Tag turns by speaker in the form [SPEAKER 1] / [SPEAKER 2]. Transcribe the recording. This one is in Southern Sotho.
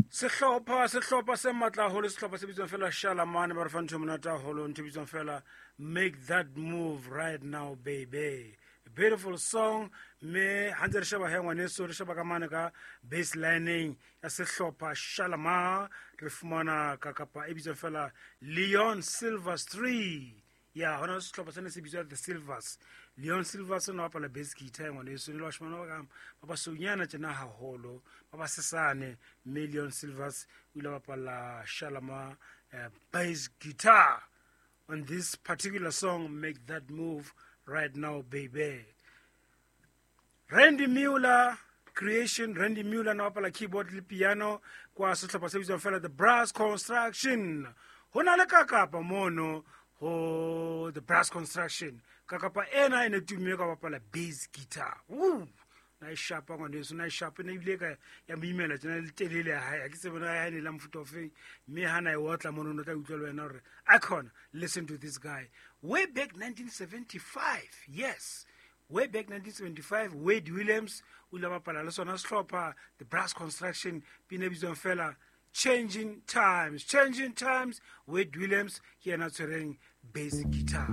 [SPEAKER 1] Sehlopha, sehlopha se matla haholo, sehlopha se bitswang fela Shalamane, ba re fa ntho e monate haholo, ntho e bitswang fela "Make That Move Right Now Baby". Beautiful song. Mme ha ntse re sheba he, ngwaneso, re sheba ka mane ka baselineng ya sehlopha Shalama, re fumana ka kapa e bitswang fela Leon Silvestri. Ya hona sehlopha sene se bitswa The Silvers. Leon Silvers o ne bapala bass guitar, ngwaneso, ne le bashimane ba ka ba basonyana tjena haholo, ba basesane. Mme Leon Silvers o ile bapala Shalama bass guitar on this particular song, "Make That Move Right Now Baby". Randy Mueller Creation, Randy Mueller na bapala keyboard le piano kwa sehlopha se bitswang fela The Brass Construction. Ho na le kakapa mono ho The Brass Construction. Kakapa ena e ne tumme ka bapala bass guitar. Woo! Na e shapa, ngwaneso, na e shapa ne ebile ka ya mo imela tjena le telele ya hae. Ha ke tsebe na ya ne la mofuta ofeng, mme ha na e otla mono, no tla utlwa le wena hore icon. Listen to this guy way back 1975. Yes, way back 1975, Wade Williams o ile a bapala le sona sehlopha The Brass Construction, pina e bitswang fela "Changing Times". "Changing Times", Wade Williams ke yena a tshwereng bass guitar.